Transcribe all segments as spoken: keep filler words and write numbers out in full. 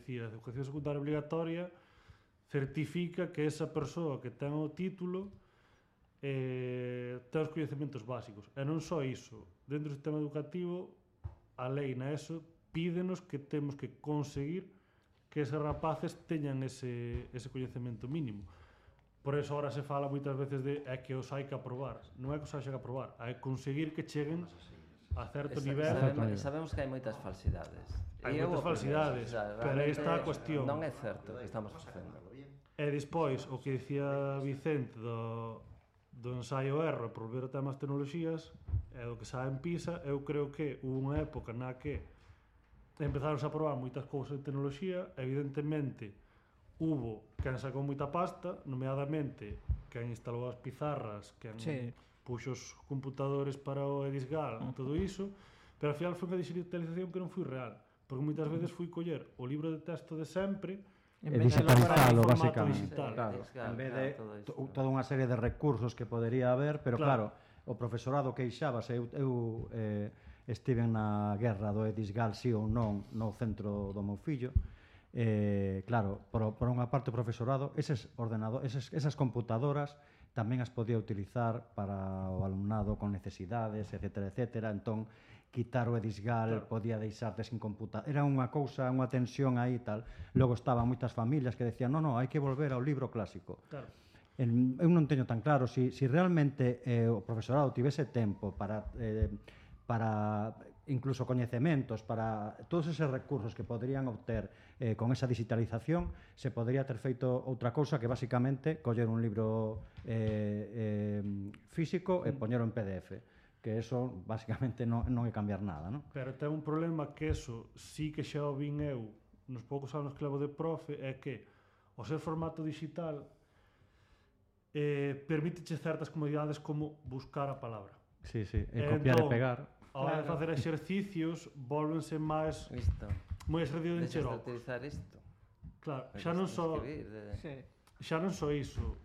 dicir, a educación secundaria obligatoria certifica que esa persoa que ten o título eh, ten os coñecementos básicos. E non só iso, dentro do sistema educativo, a lei na ESO pídenos que temos que conseguir que eses rapaces teñan ese, ese coñecemento mínimo. Por eso ahora se fala moitas veces de é que os hai que aprobar. Non é que os hai que aprobar, hai que conseguir que cheguen a certo Esa, nivel. sabemos, sabemos que hai moitas falsidades. Hai moitas falsidades, pero aí está a cuestión. Non é certo que estamos facendo. E despois, o que dicía Vicente do, do ensaio erro por volver ao tema das tecnoloxías e do que sabe en PISA, eu creo que hubo unha época na que empezaron a aprobar moitas cousas de tecnoloxía, evidentemente hubo quen sacou moita pasta, nomeadamente quen instalou as pizarras, quen sí. puxo os computadores para o Edisgal, uh -huh. todo iso, pero ao final foi unha digitalización que non foi real, porque moitas veces fui coller o libro de texto de sempre e digitalizalo, basicamente. Digital. Claro, en vez de toda unha serie de recursos que podería haber, pero claro, claro o profesorado queixábase, eu, eu eh, estiven na guerra do Edisgal, si ou non, no centro do meu fillo, eh, claro, por, por unha parte o profesorado, eses ordenadores, eses, esas computadoras tamén as podía utilizar para o alumnado con necesidades, etcétera, etcétera, entón quitar o Edisgal, claro. podía deixarte sin computador, era unha cousa, unha tensión aí e tal. Logo estaban moitas familias que decían, no, no, hai que volver ao libro clásico. Claro. En, eu non teño tan claro, si, si realmente eh, o profesorado tivese tempo para, eh, para incluso coñecementos, para todos eses recursos que poderían obter eh, con esa digitalización, se podría ter feito outra cousa que basicamente coller un libro eh, eh, físico e poñero en P D F, que eso basicamente non, non é cambiar nada, non? Pero ten un problema que eso sí que xa o vin eu nos poucos anos que levo de profe, é que o ser formato digital eh, permíteche certas comodidades como buscar a palabra. Sí, sí, e copiar entón, e pegar. A hora de facer exercicios volvense máis moi exercicio de encherocos. Deixas de utilizar isto. Claro, xa non só xa non só iso,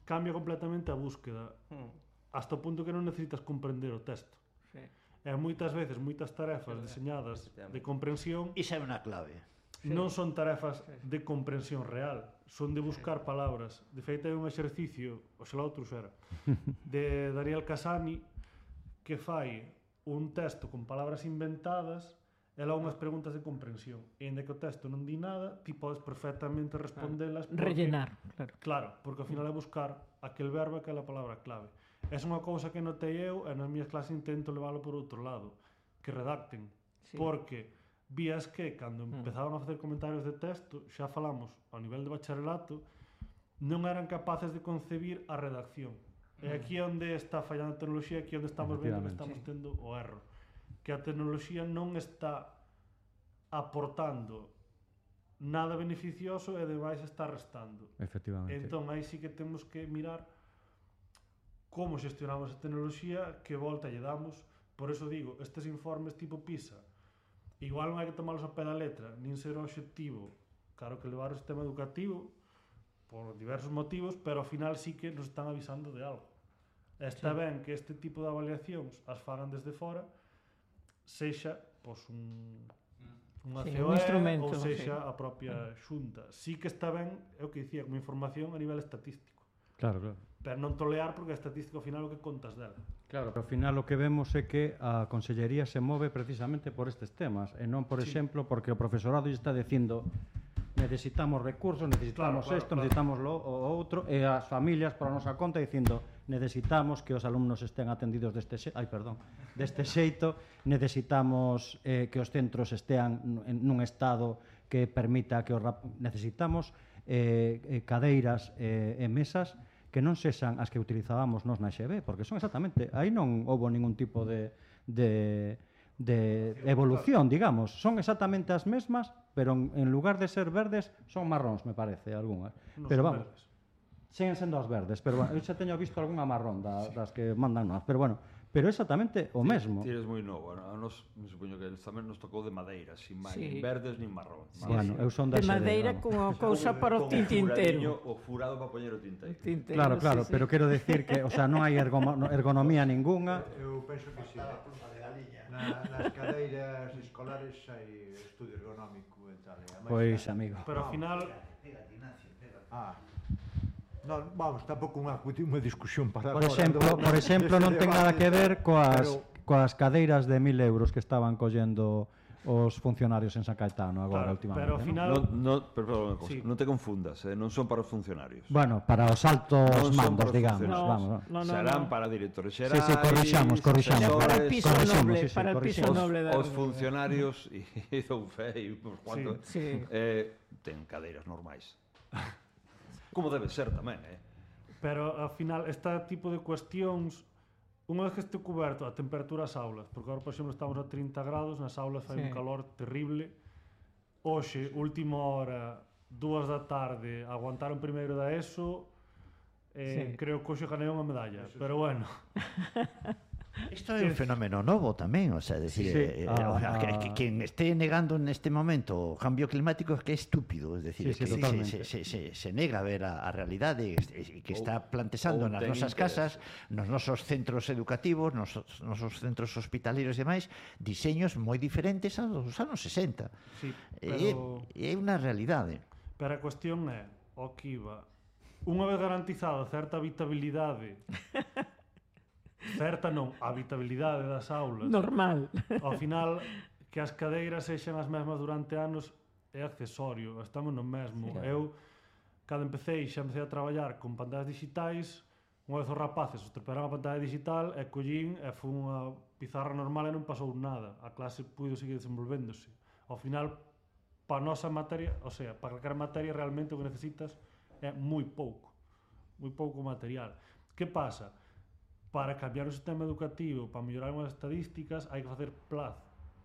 cambia completamente a búsqueda. Hmm. Hasta o punto que non necesitas comprender o texto. Sí. E moitas veces, moitas tarefas deseñadas de comprensión... Ixa é unha clave. Sí. Non son tarefas de comprensión real, son de buscar palabras. De feito, hai un exercicio, oxalá outro xera, de Daniel Casani, que fai un texto con palabras inventadas e logo unhas preguntas de comprensión. E inda que o texto non di nada, ti podes perfectamente respondelas. Porque, rellenar, claro. Claro, porque ao final é buscar aquel verbo e aquela palabra clave. É unha cousa que notei eu e nas miñas clases intento leválo por outro lado, que redacten. Sí. Porque vías que, cando empezaban a facer comentarios de texto, xa falamos ao nivel de bacharelato, non eran capaces de concebir a redacción. E aquí é onde está fallando a tecnoloxía, aquí é onde estamos vendo que estamos tendo o erro. Que a tecnoloxía non está aportando nada beneficioso e demais está restando. Efectivamente. Entón, aí sí que temos que mirar como xestionamos a tecnoloxía, que volta lle damos. Por eso digo, estes informes tipo PISA, igual non hai que tomarlos a pé da letra, nin ser o obxectivo, claro que levar o sistema educativo por diversos motivos, pero ao final sí que nos están avisando de algo. Está sí. ben que este tipo de avaliacións as fagan desde fora, sexa pois, un, unha sí, C O E ou sexa sí. a propia xunta. Sí que está ben, é o que dicía, como información a nivel estatístico. Claro, claro. Pero non tolear porque a estatística ao final o que contas dela. Claro, pero ao final o que vemos é que a Consellería se move precisamente por estes temas e non, por sí. exemplo, porque o profesorado lle está dicindo necesitamos recursos, necesitamos claro, isto, claro, necesitamos lo o outro, e as familias por a nosa conta dicindo necesitamos que os alumnos estén atendidos deste xeito, ai, perdón, deste xeito, necesitamos eh, que os centros estean nun estado que permita que os rap... necesitamos eh, cadeiras eh, e mesas que non sexan as que utilizábamos nos na X B, porque son exactamente, aí non houbo ningún tipo de, de, de evolución, digamos, son exactamente as mesmas, pero en lugar de ser verdes, son marróns, me parece, algunhas. No pero vamos, verdes. Siguen sendo as verdes, pero bueno, eu xa teño visto algunha marrón da, sí. das que mandan nós, pero bueno, pero exactamente o mesmo. Ti eres moi novo, a nos, me supoño que tamén nos tocou de madeira, sin máis, sí. nin verdes nin marrón. Sí, bueno, eu son de madeira con a cousa para o tintintero. O furado para poñer o tinteiro. tinteiro claro, claro, sí, pero sí. quero decir que, o sea, non hai ergonomía ningunha. Eu penso que si. A pluma de galiña. Na, nas cadeiras escolares hai estudio ergonómico e tal. Pois, amigo. Pero ao final... Ah. Non, vamos, tampouco unha, unha discusión para Por exemplo, do, por exemplo non ten nada que ver coas, pero... coas cadeiras de mil euros que estaban collendo os funcionarios en San Caetano agora, claro, últimamente. Pero ao final... No, no, pero, cosa, sí. Non te confundas, eh? Non son para os funcionarios. Bueno, para os altos non mandos, digamos. No, vamos, no, no, serán no. Para directores xerais... Sí, sí, corrixamos, corrixamos. Para el piso noble, sí, sí, para el piso noble. Os, os funcionarios, e dou fe, e por cuanto, sí, sí. Eh, ten cadeiras normais. Como debe ser tamén, eh? Pero, ao final, este tipo de cuestións, unha vez que este cuberto a temperatura das aulas, porque agora, por exemplo, estamos a trinta grados, nas aulas fai sí. un calor terrible, hoxe, última hora, dúas da tarde, aguantaron primeiro da ESO, eh, sí. creo que hoxe ganei unha medalla, pero bueno. Isto é un fenómeno novo tamén, o sea, decir, sí, sí. Eh, ah, que, que, quen este negando neste momento o cambio climático é que é estúpido, es decir, sí, sí, que se, se, se, se nega a ver a, a realidade e que está plantexando nas nosas casas, nos nosos centros educativos, nos nosos centros hospitaleros e demais, diseños moi diferentes aos anos sesenta. Sí, pero... É, é unha realidade. Pero a cuestión é, o que iba, unha vez garantizada certa habitabilidade certa non, a habitabilidade das aulas normal, ao final que as cadeiras sexan as mesmas durante anos é accesorio, estamos no mesmo. Sí, eu, cando empecé, xa empecé a traballar con pantallas digitais, unha vez os rapaces os treparon a pantalla digital e collín e foi unha pizarra normal e non pasou nada, a clase puido seguir desenvolvéndose. Ao final, para a nosa materia, o sea, para calquera materia realmente o que necesitas é moi pouco, moi pouco material. Que pasa? Para cambiar o sistema educativo, para mellorar as estadísticas, hai que facer plaz,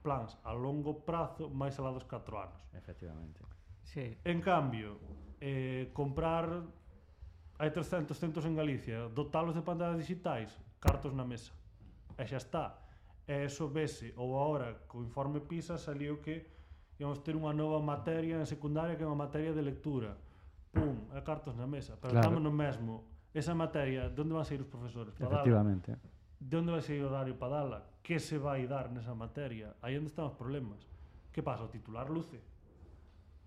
plans a longo prazo máis alá dos catro anos. Efectivamente. Sí. En cambio, eh, comprar, hai trescentos centros en Galicia, dotalos de pantallas digitais, cartos na mesa. E xa está. E eso vese, ou agora, co informe PISA, saliu que íamos ter unha nova materia en secundaria que é unha materia de lectura. Pum, e cartos na mesa. Pero claro, estamos no mesmo. Esa materia, de onde van sair os profesores para efectivamente dala? De onde vai sair o horario para dala? Que se vai dar nesa materia? Aí onde están os problemas. Que pasa? O titular luce.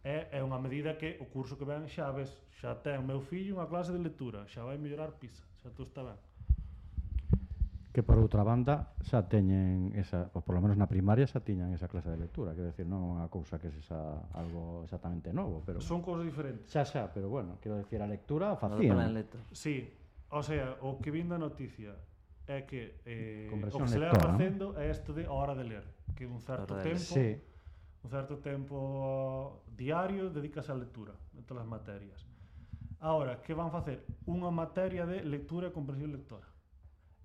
É, é unha medida que o curso que ven xa ves, xa ten meu fillo unha clase de lectura, xa vai mellorar PISA, xa tú está ben. Que por outra banda xa teñen esa, ou polo menos na primaria xa tiñan esa clase de lectura, quero decir, non é unha cousa que sexa algo exactamente novo, pero son cousas diferentes. Xa, xa, pero bueno, quero decir, a lectura facían. Sí, o sea, o que vin da noticia é que eh, o que se lectora, leva facendo ¿no? é isto de hora de ler, que un certo tempo, sí. un certo tempo diario dedícase á lectura en todas as materias. Ahora, que van facer? Unha materia de lectura e comprensión lectora.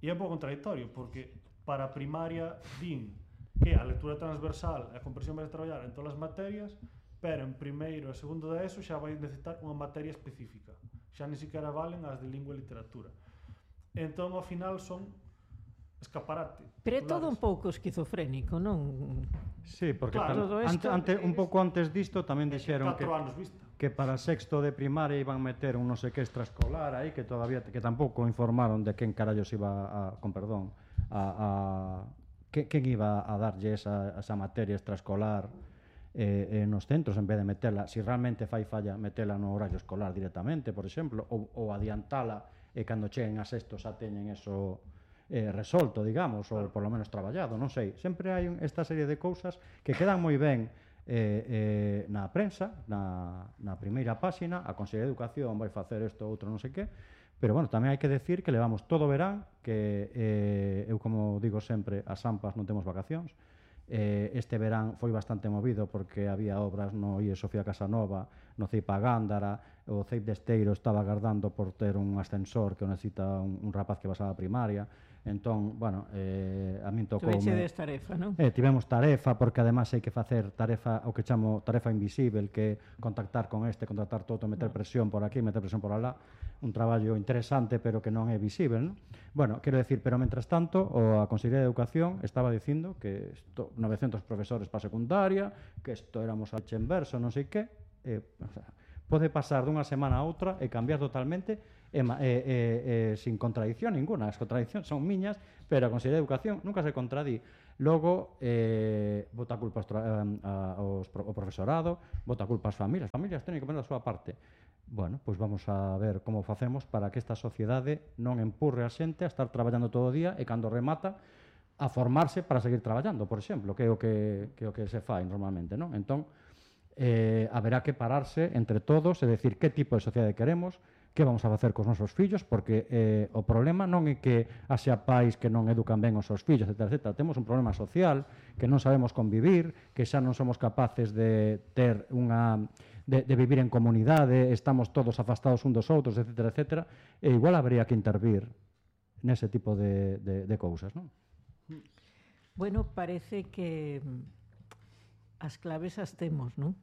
E é un pouco contradictorio, porque para a primaria din que a lectura transversal e a comprensión vai a traballar en todas as materias, pero en primeiro e segundo de eso xa vai necesitar unha materia específica. Xa ni siquiera valen as de lingua e literatura. Entón, ao final, son escaparate. Pero é todo un pouco esquizofrénico, non? Sí, porque claro, tal, ante, ante, un pouco antes disto tamén dixeron que, vista. que para sexto de primaria iban meter un non sei que extraescolar aí, que todavía que tampouco informaron de quen carallos iba a, con perdón, a, a que, quen iba a darlle esa, esa materia extraescolar eh, eh, nos centros en vez de metela, si realmente fai falla metela no horario escolar directamente, por exemplo, ou, ou adiantala e cando cheguen a sexto xa teñen eso eh, resolto, digamos, ou por lo menos traballado, non sei. Sempre hai un, esta serie de cousas que quedan moi ben eh, eh, na prensa, na, na primeira páxina, a Consellería de Educación vai facer isto, outro non sei que, pero, bueno, tamén hai que decir que levamos todo o verán, que eh, eu, como digo sempre, as AMPAs non temos vacacións. Eh, este verán foi bastante movido porque había obras no I E Sofía Casanova, no C E I P A Gándara, o C E I P de Esteiro estaba agardando por ter un ascensor que o necesita un, un rapaz que vas á primaria. Entón, bueno, eh, a min tocou... Tuvechedes tarefa, non? Eh, tivemos tarefa, porque además hai que facer tarefa, o que chamo tarefa invisible, que contactar con este, contactar todo, meter presión por aquí, meter presión por alá, un traballo interesante, pero que non é visible, non? Bueno, quero decir, pero mentras tanto, o a Consellería de Educación estaba dicindo que esto, novecentos profesores para secundaria, que isto éramos a leche en verso, non sei que, eh, o sea, pode pasar dunha semana a outra e cambiar totalmente e, e, e, e sin contradicción ninguna. As contradiccións son miñas, pero a Consellería de Educación nunca se contradí. Logo, eh, bota culpa aos, tra- a, aos, pro- ao profesorado, bota culpa ás familias. As familias teñen que poner a súa parte. Bueno, pois vamos a ver como facemos para que esta sociedade non empurre a xente a estar traballando todo o día e cando remata a formarse para seguir traballando, por exemplo, que é o que, que, é o que se fai normalmente, non? Entón, eh, haberá que pararse entre todos e decir que tipo de sociedade queremos, que vamos a facer cos nosos fillos, porque eh, o problema non é que haxa pais que non educan ben os seus fillos, etcétera, etcétera. Temos un problema social, que non sabemos convivir, que xa non somos capaces de ter unha de, de vivir en comunidade, estamos todos afastados un dos outros, etcétera, etcétera, e igual habría que intervir nese tipo de, de, de cousas, non? Bueno, parece que as claves as temos, non?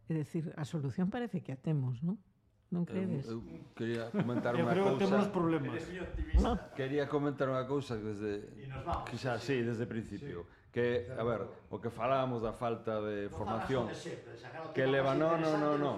É dicir, a solución parece que a temos, non? Non credes? Eu, eu quería comentar Eu unha creo que temos cousa. problemas. No. Quería comentar unha cousa que desde que xa sí, desde o principio, que a ver, o que falábamos da falta de formación que leva no, no, no, no.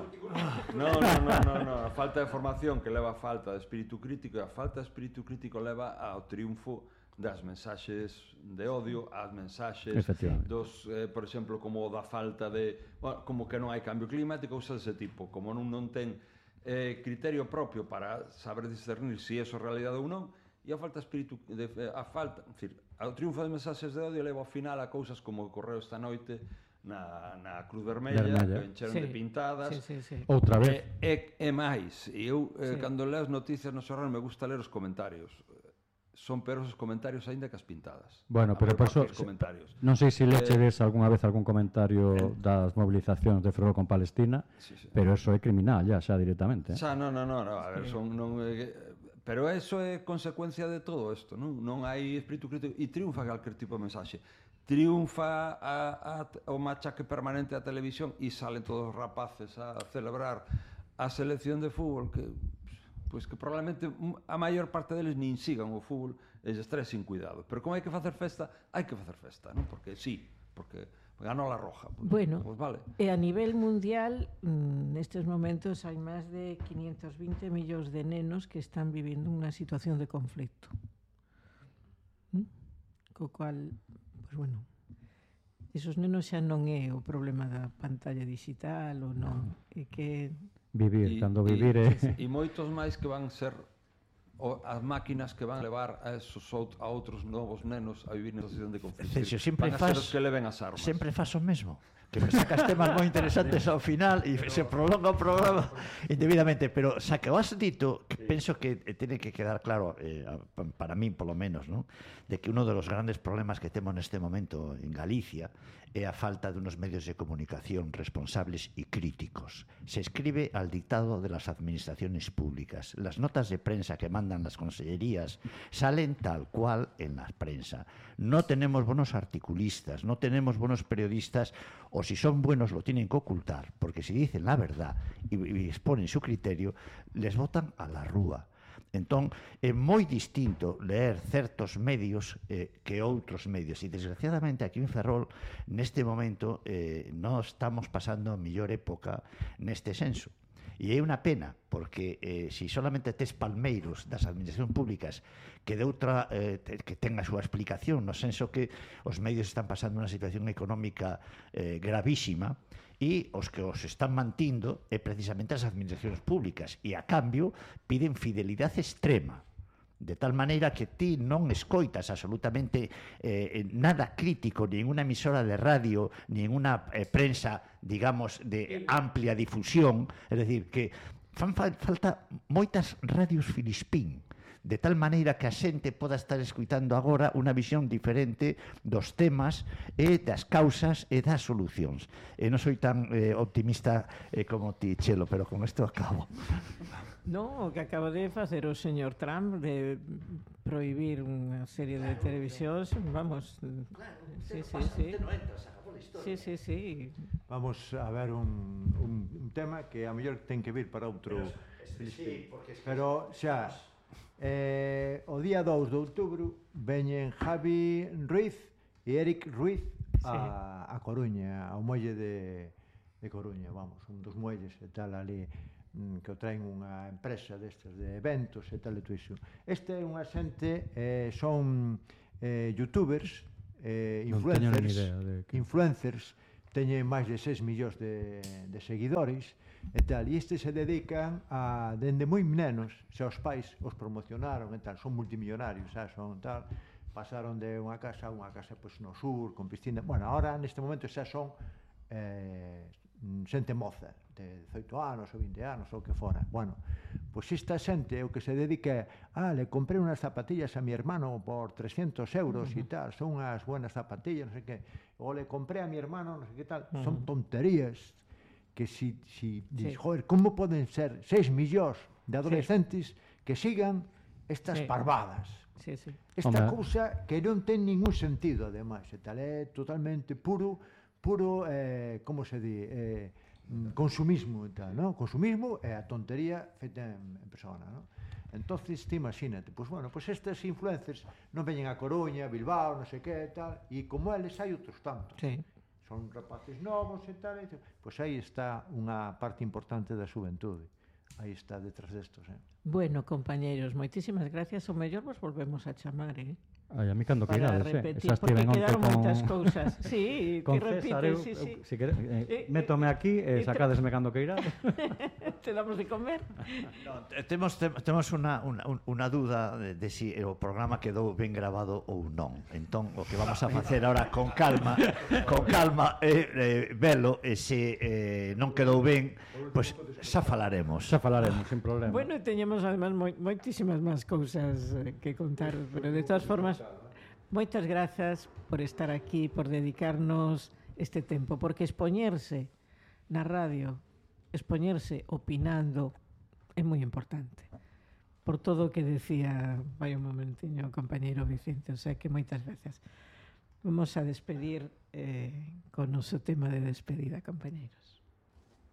No, no, no, no, no, a falta de formación que leva a falta de espírito crítico e a falta de espírito crítico leva ao triunfo das mensaxes de odio, as mensaxes dos, eh, por exemplo, como da falta de, bueno, como que non hai cambio climático, cousas dese tipo, como non non ten eh, criterio propio para saber discernir se si é eso realidade ou non, e a falta espírito de, a falta, en fin, ao triunfo de mensaxes de odio leva ao final a cousas como ocorreu esta noite na, na Cruz Vermella, Vermella. que encheron Sí. de pintadas. Sí, sí, sí. Outra E, vez. e, e máis, e eu eh, Sí. cando leo as noticias no xornal me gusta ler os comentarios. Son peores os comentarios aínda que as pintadas. Bueno, A pero por por eso, parte dos comentarios. non sei se lechedes Eh, algunha vez algún comentario das movilizacións de Ferrol con Palestina, Sí, sí. pero eso é criminal ya, xa directamente. Eh? Xa, non, non, non, a ver, son, non, eh, pero eso é consecuencia de todo isto, non? Non hai espírito crítico e triunfa calquer tipo de mensaxe. Triunfa a, a, o machaque permanente da televisión e salen todos os rapaces a celebrar a selección de fútbol que pois que probablemente a maior parte deles nin sigan o fútbol e lles trae sin cuidado. Pero como hai que facer festa, hai que facer festa, non? Porque sí, porque ganou la roja. Pues, Bueno, pues vale. e a nivel mundial, mm, nestes momentos hai máis de quinientos vinte millóns de nenos que están vivindo unha situación de conflicto. ¿Mm? Co cual, pues bueno, esos nenos xa non é o problema da pantalla digital ou non, é que Vivir, E- cando e- vivir é... E moitos máis que van ser o, as máquinas que van levar a esos out, a outros novos nenos a vivir na situación de conflicto. Celso, sempre van a ser fas- os que leven as armas. Sempre faz o mesmo. Que me sacas temas moi interesantes ao final e se prolonga o programa indebidamente, pero xa que o has dito, que penso que eh, tiene que quedar claro, eh, a- pa- para mí polo menos, ¿no? De que uno de los grandes problemas que temos neste momento en Galicia é a falta de unos medios de comunicación responsables y críticos. Se escribe al dictado de las administraciones públicas. Las notas de prensa que mandan las consellerías salen tal cual en la prensa. No tenemos buenos articulistas, no tenemos buenos periodistas, o si son buenos lo tienen que ocultar, porque si dicen la verdad y, y exponen su criterio, les botan a la rúa. Entón, é moi distinto leer certos medios eh, que outros medios. E, desgraciadamente, aquí en Ferrol, neste momento, eh, non estamos pasando a mellor época neste senso. E é unha pena, porque eh, si solamente tes palmeiros das administracións públicas que de outra eh, que ten a súa explicación, no senso que os medios están pasando unha situación económica eh, gravísima, e os que os están mantindo é precisamente as administracións públicas e a cambio piden fidelidade extrema, de tal maneira que ti non escoitas absolutamente eh, nada crítico, nin unha emisora de radio, nin unha eh, prensa, digamos, de amplia difusión, é dicir, que fan fa falta moitas radios filispín, de tal maneira que a xente poda estar escuitando agora unha visión diferente dos temas e das causas e das solucións. E non soy tan eh, optimista eh, como ti, Chelo, pero con isto acabo. non, o que acaba de facer o señor Trump de prohibir unha serie de televisións, vamos, sí, sí, sí. Sí, sí, sí. Vamos a ver un, un, un tema que a mellor ten que vir para outro Filispín. Pero xa, eh, o día dous de outubro veñen Javi Ruiz e Eric Ruiz a, a Coruña, ao muelle de, de Coruña, vamos, un dos muelles e tal ali, mm, que o traen unha empresa destes de eventos e tal e todo iso. Este é unha xente, eh, son eh, youtubers, eh, Non teño nin influencers, idea de que... influencers teñen máis de seis millóns de, de seguidores e tal, e estes se dedican a, dende moi nenos, se os pais os promocionaron e tal, son multimillonarios, xa, son tal, pasaron de unha casa a unha casa pois, no sur, con piscina, bueno, ahora neste momento xa son eh, xente moza, de dezoito anos ou vinte anos ou que fora. Bueno, pois esta xente o que se dedica é, ah, le compré unas zapatillas a mi hermano por trescientos euros e uh -huh. tal, son unhas buenas zapatillas, non sei que, ou le compré a mi hermano, non sei que tal, uh -huh. son tonterías que si, si sí. dis, joder, como poden ser seis millóns de adolescentes sí. que sigan estas sí. parvadas? Sí, sí. Esta Hombre. cousa que non ten ningún sentido, ademais, e tal, é totalmente puro, puro, eh, como se di, eh, consumismo e tal, non? Consumismo é a tontería feita en, en persona, non? Entonces, te imagínate, pois pues, bueno, pois pues estes influencers non veñen a Coruña, Bilbao, non sei que, tal, e como eles hai outros tantos. Sí. Son rapaces novos e tal, e pois pues aí está unha parte importante da xuventude. Aí está detrás destos, eh? Bueno, compañeiros, moitísimas gracias. O mellor vos volvemos a chamar, eh? Ai, a mí cando que irades, eh? Repetir, porque quedaron moitas cousas. Sí, con que César, repites, eu, sí, sí. Eu, si quere, eh, métome aquí e eh, sacadesme cando que irades. Te damos de comer. No, temos, te, temos unha, unha, unha dúda de, de si o programa quedou ben grabado ou non. Entón, o que vamos a facer ahora con calma, con calma, é eh, eh, velo, e se eh, non quedou ben, pois pues, xa falaremos. Xa falaremos, sin problema. Bueno, teñemos además moi, moitísimas máis cousas eh, que contar, pero de todas formas, moitas grazas por estar aquí, por dedicarnos este tempo, porque expoñerse na radio, expoñerse opinando, é moi importante. Por todo o que decía, vai un momentiño, o compañeiro Vicente, o sea que moitas veces. Vamos a despedir eh, con o noso tema de despedida, compañeiro.